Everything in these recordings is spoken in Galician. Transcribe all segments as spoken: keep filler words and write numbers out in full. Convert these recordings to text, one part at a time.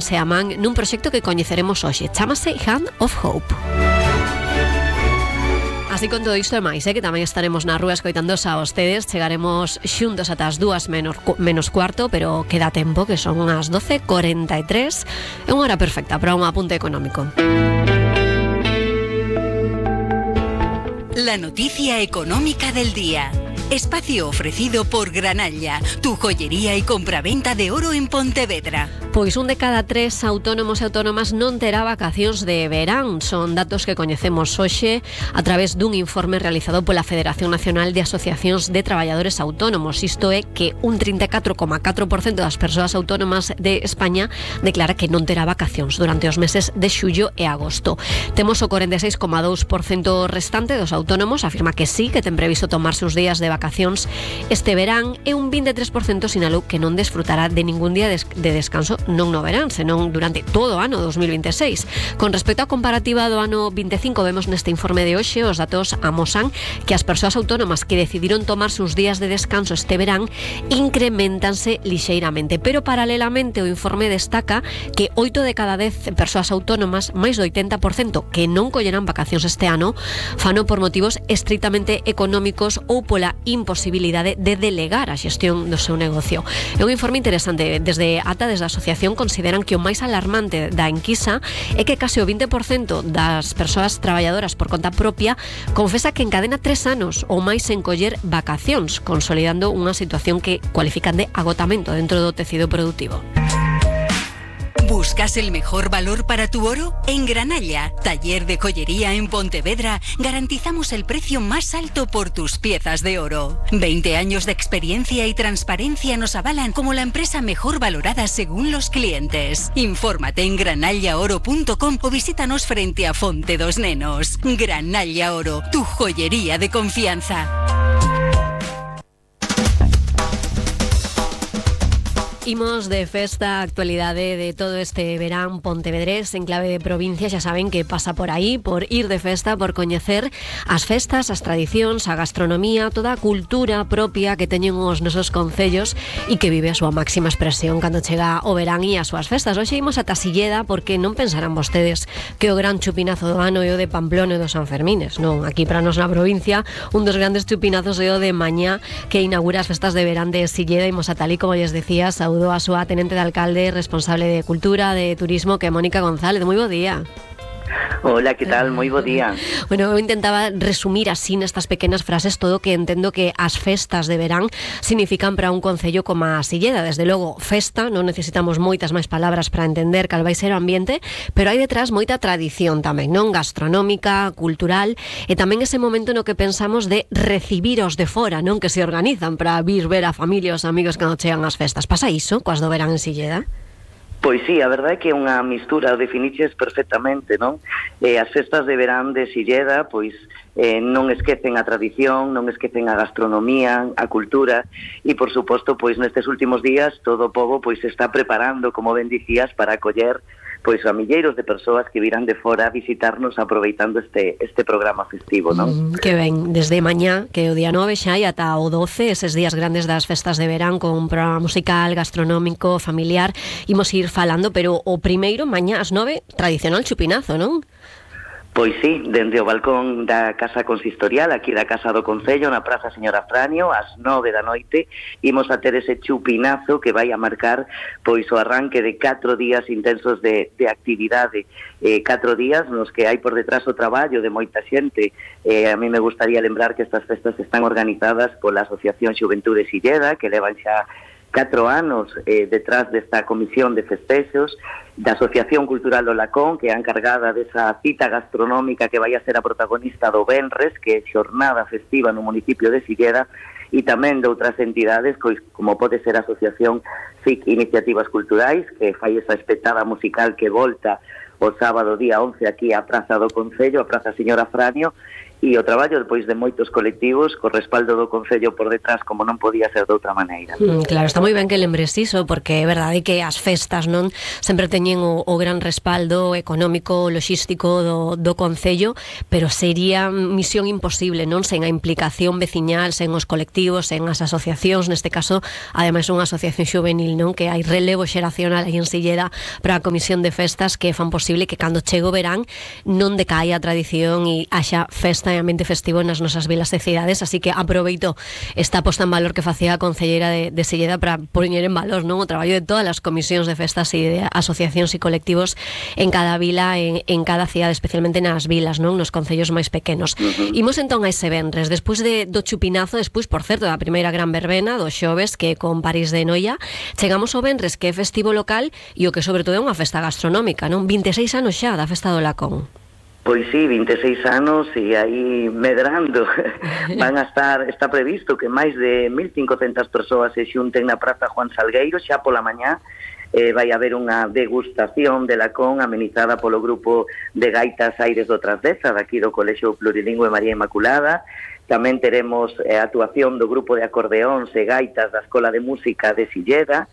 se aman nun proxecto que coñeceremos hoxe. Chámase Hand of Hope. Así con todo isto e máis, eh, que tamén estaremos na rúa escoitandos a vostedes. Chegaremos xuntos ata as dúas menos, menos cuarto, pero queda tempo, que son as doce e cuarenta e tres. É unha hora perfecta para un apunte económico. La noticia económica del día. Espacio ofrecido por Granalla, tu joyería y compraventa de oro en Pontevedra. Pois un de cada tres autónomos e autónomas non terá vacacións de verán. Son datos que coñecemos hoxe a través dun informe realizado pola Federación Nacional de Asociacións de Traballadores Autónomos. Isto é que un trinta e catro coma catro por cento das persoas autónomas de España declara que non terá vacacións durante os meses de xullo e agosto. Temos o corenta e seis coma dous por cento restante dos autónomos afirma que sí, que ten previsto tomarse uns días de vacacións este verán, e un vinte e tres por cento sinalou que non desfrutará de ningún día de descanso non no verán, senón durante todo o ano dos mil vinte e seis. Con respecto á comparativa do ano vinte e cinco, vemos neste informe de hoxe os datos amosan que as persoas autónomas que decidiron tomarse uns días de descanso este verán incrementanse lixeiramente, pero paralelamente o informe destaca que oito de cada dez persoas autónomas, máis do oitenta por cento, que non collerán vacacións este ano, fano por motivos estritamente económicos ou pola imposibilidade de delegar a xestión do seu negocio. É un informe interesante. Desde ATA, desde a asociación, consideran que o máis alarmante da enquisa é que case o vinte por cento das persoas traballadoras por conta propia confesa que encadena tres anos ou máis sen coller vacacións, consolidando unha situación que cualifican de agotamento dentro do tecido productivo. ¿Buscas el mejor valor para tu oro? En Granalla, taller de joyería en Pontevedra, garantizamos el precio más alto por tus piezas de oro. veinte años de experiencia y transparencia nos avalan como la empresa mejor valorada según los clientes. Infórmate en granalla oro punto com o visítanos frente a Fonte dos Nenos. Granalla Oro, tu joyería de confianza. Imos de festa, actualidade de todo este verán pontevedrés en clave de provincia. Xa saben que pasa por aí, por ir de festa, por coñecer as festas, as tradicións, a gastronomía, toda a cultura propia que teñen os nosos concellos e que vive a súa máxima expresión cando chega o verán e as súas festas. Hoxe imos ata Silleda porque non pensarán vostedes que o gran chupinazo do ano é o de Pamplona e do San Fermines. Non, aquí para nos na provincia un dos grandes chupinazos é o de mañá, que inaugura as festas de verán de Silleda. Imos ata ali, como lles decía, saúdo a súa tenente de alcalde, responsable de Cultura, de Turismo, que é Mónica González. Moi bo día. Hola, que tal? Moi bo día. Bueno, eu intentaba resumir así nestas pequenas frases todo que entendo que as festas de verán significan para un concello como a Silleda. Desde logo, festa, non necesitamos moitas máis palabras para entender cal vai ser o ambiente, pero hai detrás moita tradición tamén, non? Gastronómica, cultural, e tamén ese momento no que pensamos de recibir os de fora, non? Que se organizan para vir ver a familia e os amigos cando chegan as festas. Pasa iso coas do verán en Silleda? Pois sí, a verdade é que é unha mistura, o definiches perfectamente, non? Eh, as festas de verán de Silleda, pois eh, non esquecen a tradición, non esquecen a gastronomía, a cultura, e por suposto, pois nestes últimos días todo o pobo pois se está preparando, como ben dicías, para acoller pois a milleiros de persoas que virán de fora a visitarnos aproveitando este este programa festivo, non? Mm, que ben, desde mañá, que o día nove xa e ata o doce, eses días grandes das festas de verán con un programa musical, gastronómico, familiar, imos ir falando, pero o primeiro, mañá ás nove, tradicional chupinazo, non? Pois sí, dende o balcón da Casa Consistorial, aquí da Casa do Concello, na Praza Señora Franio, ás nove da noite, imos a ter ese chupinazo que vai a marcar pois o arranque de catro días intensos de, de actividade, eh, catro días nos que hai por detrás o traballo de moita xente. Eh, a mí me gustaría lembrar que estas festas están organizadas pola Asociación Xuventude Silleda, que levan xa catro anos eh, detrás desta comisión de festexos, da Asociación Cultural do Lacón, que é a encargada desa cita gastronómica que vai a ser a protagonista do Venres, que é xornada festiva no municipio de Silleda, e tamén de outras entidades, pois, como pode ser a Asociación S I C Iniciativas Culturais, que fai esa espetada musical que volta o sábado día once aquí á Praza do Concello, a Praza Señora Franio, e o traballo depois de moitos colectivos co respaldo do Concello por detrás, como non podía ser de outra maneira. Mm, claro, está moi ben que lembres iso, porque é verdade que as festas non sempre teñen o, o gran respaldo económico, logístico do, do Concello, pero sería misión imposible, non, sen a implicación veciñal, sen os colectivos, sen as asociacións, neste caso, ademais unha asociación xuvenil, non, que hai relevo xeracional aí en Silleda para a Comisión de Festas que fan posible que cando chego o verán non decaia a tradición e haxa festa e ambiente festivo nas nosas vilas e cidades, así que aproveito esta posta en valor que facía a concelleira de, de Silleda para poñer en valor, non, o traballo de todas as comisións de festas e de asociacións e colectivos en cada vila, en, en cada cidade, especialmente nas vilas, non, nos concellos máis pequenos. Uh-huh. Imos entón a ese venres, despois de, do chupinazo, despois, por certo, da primeira gran verbena do xoves, que con París de Noia, chegamos ao venres, que é festivo local e o que sobre todo é unha festa gastronómica, non, vinte e seis anos xa da festa do Lacón. Pois sí, vinte e seis anos e aí medrando. Van a estar, está previsto que máis de mil cincocentas persoas se xunten na Praza Juan Salgueiro xa pola mañá. Eh, vai haber unha degustación de Lacón amenizada polo grupo de gaitas Aires do Trasdeza, daqui do Colexio Plurilingüe María Inmaculada. Tamén teremos a eh, actuación do grupo de acordeóns e gaitas da Escola de Música de Silleda.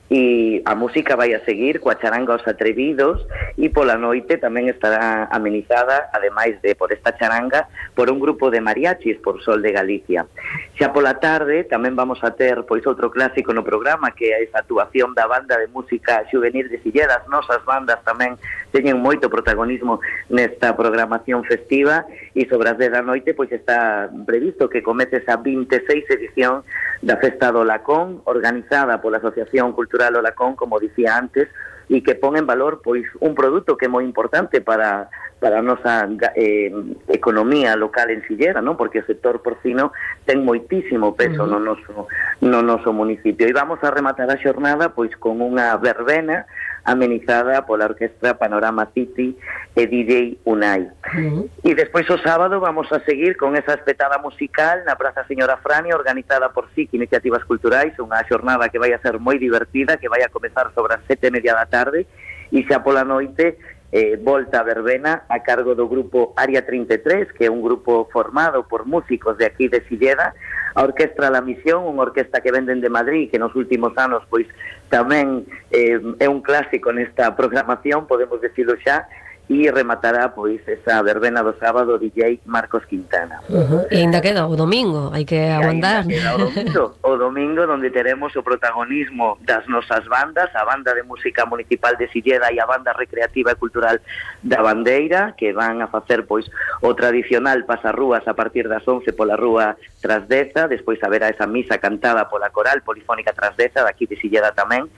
E a música vai a seguir coa charanga Os Atrevidos e pola noite tamén estará amenizada, ademais de por esta charanga, por un grupo de mariachis por Sol de Galicia. Xa pola tarde tamén vamos a ter pois outro clásico no programa, que é esa actuación da banda de música xuvenil de Silleda. As nosas bandas tamén teñen moito protagonismo nesta programación festiva e sobre as dez da noite pois está previsto que comece esa vinte e seis edición da Festa do Lacón, organizada pola Asociación Cultural O Lacón, como dicía antes, e que pon en valor pois un produto que é moi importante para para a nosa eh, economía local en Silleda, non? Porque o sector porcino ten moitísimo peso uh-huh. no noso no noso municipio. E vamos a rematar a xornada pois con unha verbena amenizada pola Orquestra Panorama City e D J Unai. Uh-huh. E despois o sábado vamos a seguir con esa espetada musical na Praza Señora Frania, organizada por S I C Iniciativas Culturais, unha xornada que vai a ser moi divertida, que vai a comezar sobre as sete e media da tarde, e xa pola noite eh, volta a verbena a cargo do grupo Área trinta e tres, que é un grupo formado por músicos de aquí de Silleda, a Orquestra La Misión, unha orquesta que venden de Madrid, que nos últimos anos pois tamén eh, é un clásico nesta programación, podemos decirlo xa, e rematará pois esa verbena do sábado D J Marcos Quintana. Uh-huh. E ainda queda o domingo, hai que aguantar. Queda o domingo, o domingo onde teremos o protagonismo das nosas bandas, a Banda de Música Municipal de Silleda e a Banda Recreativa e Cultural da Bandeira, que van a facer pois o tradicional pasarrúas a partir das once pola rúa Trasdeza, despois haberá esa misa cantada pola Coral Polifónica Trasdeza, daqui de Silleda tamén,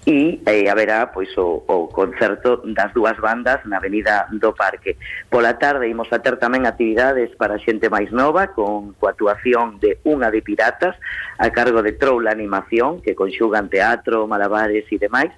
e eh, haberá pois o, o concerto das dúas bandas na Avenida do Parque. Pola tarde imos a ter tamén actividades para xente máis nova, con coa actuación de Unha de Piratas a cargo de Troula Animación, que conxugan teatro, malabares e demais.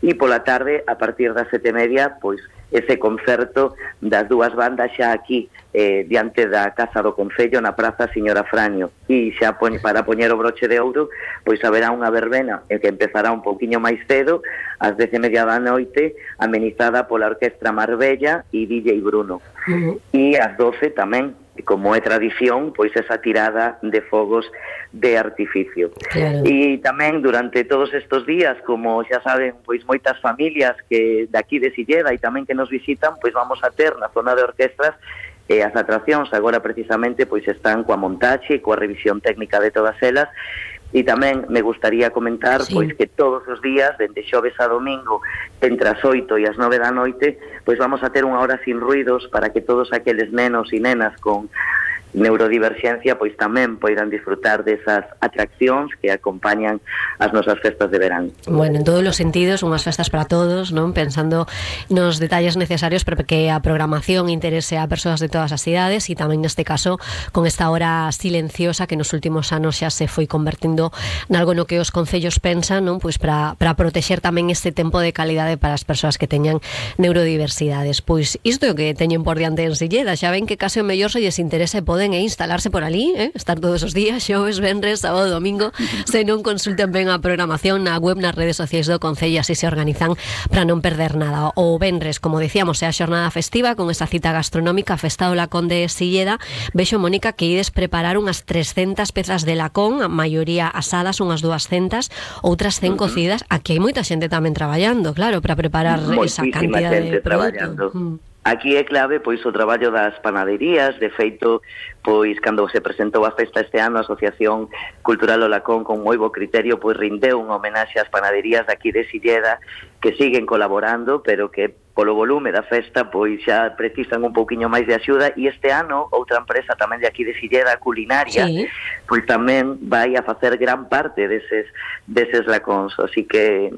E pola tarde, a partir das sete e media, pois ese concerto das dúas bandas xa aquí eh, diante da Casa do Concello na Praza Señora Franio. E xa poñ, para poñer o broche de ouro, pois haberá unha verbena eh, que empezará un pouquiño máis cedo, ás dez e media da noite, amenizada pola Orquestra Marbella e D J Bruno. Uh-huh. E ás doce tamén, como é tradición, pois esa tirada de fogos de artificio. Claro. E tamén durante todos estes días, como xa saben, pois moitas familias que daqui de Silleda e tamén que nos visitan, pois vamos a ter na zona de orquestras e as atraccións agora precisamente pois están coa montaxe e coa revisión técnica de todas elas. E tamén me gustaría comentar sí. pois que todos os días, dende xoves a domingo, entre as oito e as nove da noite, pois vamos a ter unha hora sin ruidos para que todos aqueles nenos e nenas con neurodiverxencia pois tamén poidan disfrutar desas atraccións que acompañan as nosas festas de verán. Bueno, en todos os sentidos, unhas festas para todos, non? Pensando nos detalles necesarios para que a programación interese a persoas de todas as cidades e tamén neste caso con esta hora silenciosa que nos últimos anos xa se foi convertindo nalgo no que os concellos pensan, non? Pois para, para protexer tamén este tempo de calidade para as persoas que teñan neurodiversidades. Pois isto é o que teñen por diante en Silleda, xa ven que case o mellor se lles interese poden poden é instalarse por ali, eh? Estar todos os días, xoves, venres, sábado, domingo, se non consulten ben a programación na web, nas redes sociais do Concello, así se organizan para non perder nada. O venres, como dicíamos, é a xornada festiva con esa cita gastronómica, Festa do Lacón de Silleda. Vexo, Mónica, que ides preparar unhas trescentas pezas de lacón, a maioría asadas, unhas duascentas, outras cen uh-huh. cocidas. Aquí hai moita xente tamén traballando, claro, para preparar esa cantidad de produto. Mm. Aquí é clave pois o traballo das panaderías. De feito, pois cando se presentou a festa este ano, a Asociación Cultural O Lacón, con moi bo criterio, pois rindeu unha homenaxe ás panaderías de aquí de Silleda, que siguen colaborando, pero que polo volume da festa pois xa precisan un pouquiño máis de axuda. E este ano outra empresa tamén de aquí de Silleda, Culinaria, sí, pois tamén vai a facer gran parte deses, deses lacóns, así que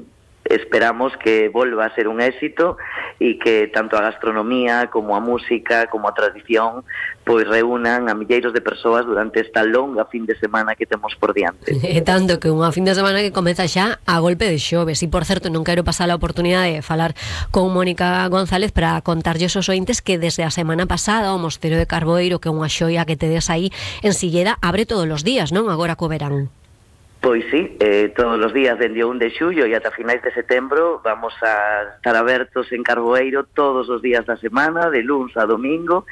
esperamos que volva a ser un éxito e que tanto a gastronomía como a música como a tradición pois reúnan a milleiros de persoas durante esta longa fin de semana que temos por diante. E tanto que unha fin de semana que comeza xa a golpe de xoves. E por certo, non quero pasar a oportunidade de falar con Mónica González para contarlles aos ointes que desde a semana pasada o Mosteiro de Carboeiro, que é unha xoia que tedes aí en Silleda, abre todos os días, non? Agora co verán. Pois sí, eh, todos os días dende o un de xullo e ata finais de setembro vamos a estar abertos en Carboeiro todos os días da semana, de luns a domingo.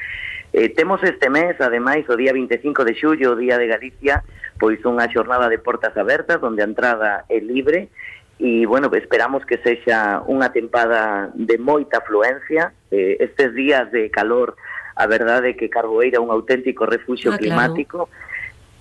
Eh, temos este mes, ademais, o día vinte e cinco de xullo, o Día de Galicia, pois unha xornada de portas abertas, onde a entrada é libre, e, bueno, esperamos que sexa unha tempada de moita afluencia. Eh, estes días de calor, a verdade é que Carboeiro é un auténtico refuxio ah, climático, claro.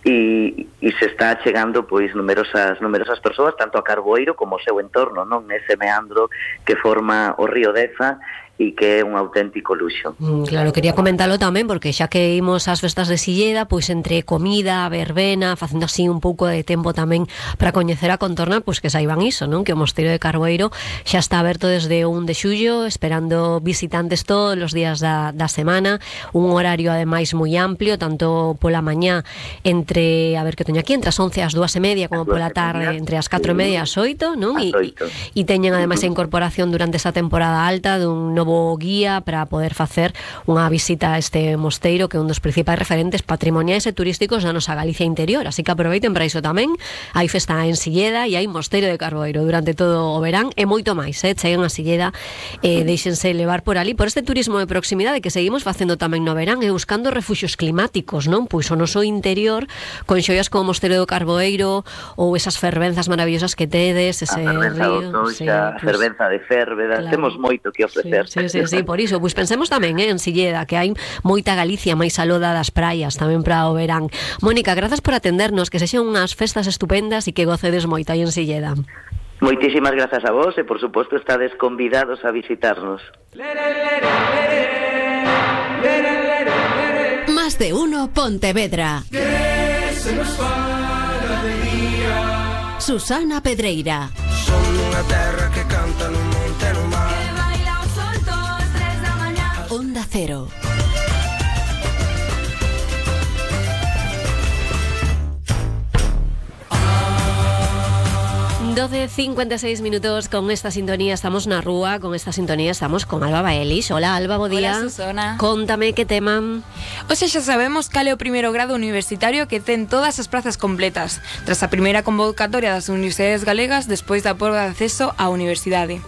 E, e se está chegando pois numerosas numerosas persoas tanto a Carboeiro como o seu entorno, non, nese meandro que forma o río Deza e que é un auténtico luxo. Mm, claro, quería comentalo tamén porque xa que imos ás festas de Silleda, pois entre comida, verbena, facendo así un pouco de tempo tamén para coñecer a contorna, pois que saiban iso, non? Que o Mosteiro de Carboeiro xa está aberto desde o un de xullo, esperando visitantes todos os días da, da semana, un horario ademais moi amplio, tanto pola mañá entre, a ver que teño aquí, entre as once e as dúas e media, como pola tarde entre as catro e media e as oito, non? E, e teñen ademais a incorporación durante esa temporada alta dun novo guía para poder facer unha visita a este mosteiro que é un dos principais referentes patrimoniais e turísticos da nosa Galicia interior, así que aproveiten para iso tamén. Hai festa en Silleda e hai Mosteiro de Carboeiro durante todo o verán e moito máis, eh? Cheguen a Silleda e deixense levar por ali por este turismo de proximidade que seguimos facendo tamén no verán e buscando refuxios climáticos, non? Pois o noso interior con xoias como o Mosteiro do Carboeiro ou esas fervenzas maravillosas que tedes, ese a fervenza río, do Toxa, sí, a pues, fervenza de Férveda, claro. Temos moito que ofrecer. Sí, sí, sí, sí, por iso, pois pensemos tamén eh, en Silleda, que hai moita Galicia máis aloda das praias tamén para o verán. Mónica, grazas por atendernos, que sexan unhas festas estupendas e que gocedes moito aí en Silleda. Moitísimas grazas a vos e, por suposto, estades convidados a visitarnos. Más de uno Pontevedra. Susana Pedreira. Son unha terra que canta no monte no mar. Onda Cero. doce cincuenta e seis minutos con esta sintonía estamos na rúa, con esta sintonía estamos con Alba Baelis. Hola Alba, bo día. Hola Susana. Contame que tema. Hoxe xa sabemos cal é o primeiro grado universitario que ten todas as prazas completas, tras a primeira convocatoria das universidades galegas despois da proba de acceso á universidade.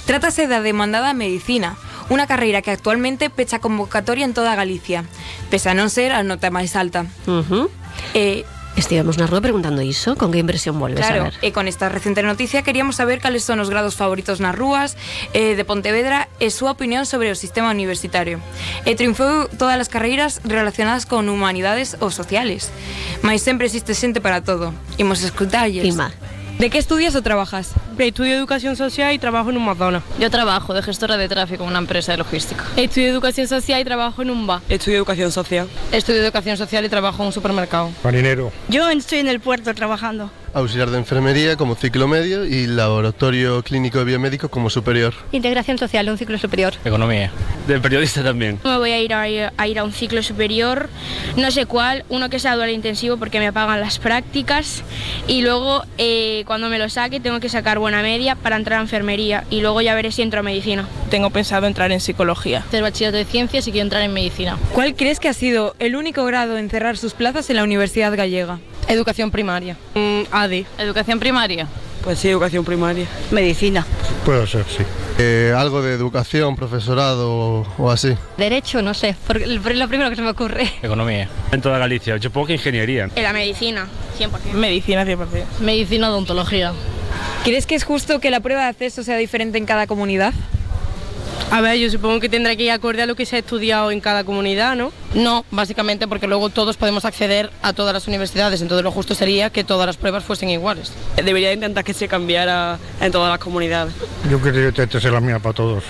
Trátase da demandada Medicina, unha carreira que actualmente pecha convocatoria en toda Galicia, pese a non ser a nota máis alta. Uh-huh. Eh... Estivemos na rúa preguntando iso, con que impresión volves claro, a ver? E con esta recente noticia queríamos saber cales son os grados favoritos nas rúas eh, de Pontevedra e súa opinión sobre o sistema universitario. E triunfou todas as carreiras relacionadas con humanidades ou sociales, mas sempre existe xente para todo. Imos escutarlles. Ima. ¿De qué estudias o trabajas? Estudio Educación Social y trabajo en un McDonald's. Yo trabajo de gestora de tráfico en una empresa de logística. Estudio Educación Social y trabajo en un bar. Estudio Educación Social. Estudio Educación Social y trabajo en un supermercado. Marinero. Yo estoy en el puerto trabajando. Auxiliar de enfermería como ciclo medio y laboratorio clínico de biomédico como superior. Integración social, un ciclo superior. Economía. De periodista también. Me voy a ir a, a ir a un ciclo superior, no sé cuál, uno que sea dual intensivo porque me pagan las prácticas y luego eh, cuando me lo saque tengo que sacar buenas buena media para entrar a enfermería y luego ya veré si entro a medicina. Tengo pensado entrar en psicología. Hacer bachillerato de ciencias y quiero entrar en medicina. ¿Cuál crees que ha sido el único grado en cerrar sus plazas en la Universidad Gallega? Educación primaria. Mm, A D. Educación primaria. Pues sí, educación primaria. Medicina. Puede ser, sí. Eh, algo de educación, profesorado o, o así. Derecho, no sé, porque es lo primero que se me ocurre. Economía. En toda Galicia, yo supongo que ingeniería. En la medicina, cien por ciento. Medicina, cien por ciento. Medicina, odontología. ¿Crees que es justo que la prueba de acceso sea diferente en cada comunidad? A ver, yo supongo que tendrá que ir acorde a lo que se ha estudiado en cada comunidad, ¿no? No, básicamente porque luego todos podemos acceder a todas las universidades, entonces lo justo sería que todas las pruebas fuesen iguales. Debería intentar que se cambiara en todas las comunidades. Yo creo que esta es la mía para todos.